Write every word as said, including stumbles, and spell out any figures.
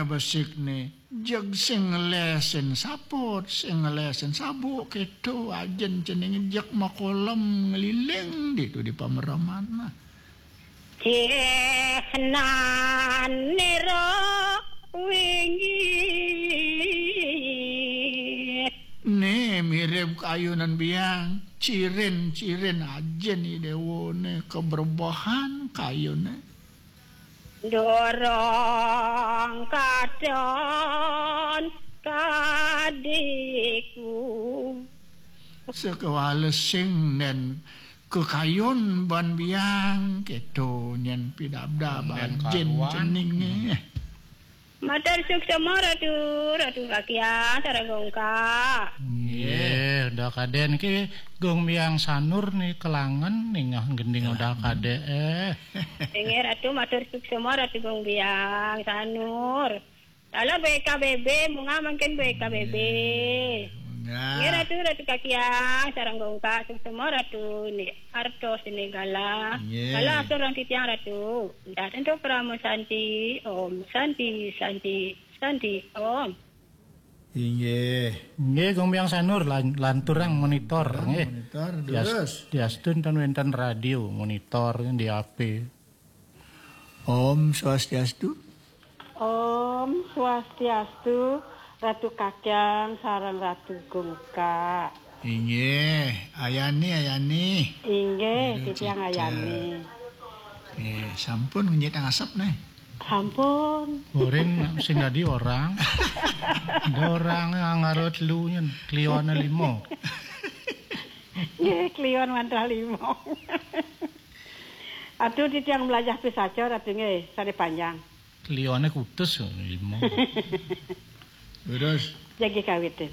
Besik ni, jeg sing ngelesin saput, sing ngelesin sabuk, kéto, ajén ceningé jeg makolem ngeliling ditu di pamereman. Cih nan nira wingi. Né mirib kayunan biang, cirin-cirin ajén i déwané kebrebehan kayuné. Dorong kadon kadiku. Sekewala sing nen kekayun ban biang, kéto nyén pidabdab. Nen ajén karuan. Ceningé. Matur suksma Ratu, Ratu Kakian, sareng Gungkak. Nggih, Uda Kadé niki Gung Biang Sanur ni kelangen ningeh gending Uda Kadé. Eh. Inggih Ratu, matur suksma Ratu Gung Biang Sanur. Lalo B K B B, munggah mangkin B K B B. Munggah. Nggih Ratu, Ratu Kakian, sareng Gungkak, suksma Ratu ni artos ni galah. Nggih. Galah atur ring titiang Ratu. Dah tentu Parama Santi, Om Santi, Santi, Santi, Om. Inggih. Nggih, Gung Biang Sanur, lan-, lanturang monitor, nggih. Monitor, terus. Dias-, diastun ten wénten radio, monitor di H P. Om Swastiastu. Om Swastiastu, Ratu Kakian sareng Ratu Gungkak. Inggih, Ayani, Ayani. Inggih, Ratu titiang Cica. Ayani. Nggih, sampun ngenyit asap nih. Sampun. Goreng sing dadi orang. Ada orang ngarut lu nyen, kliwane lima. Nggih, kliwan mantra lima. Aduh, titiang mlajah pisaca, Ratu nggih, sane panjang. Kliwane kutus lima. Terus? Jagi kawitin.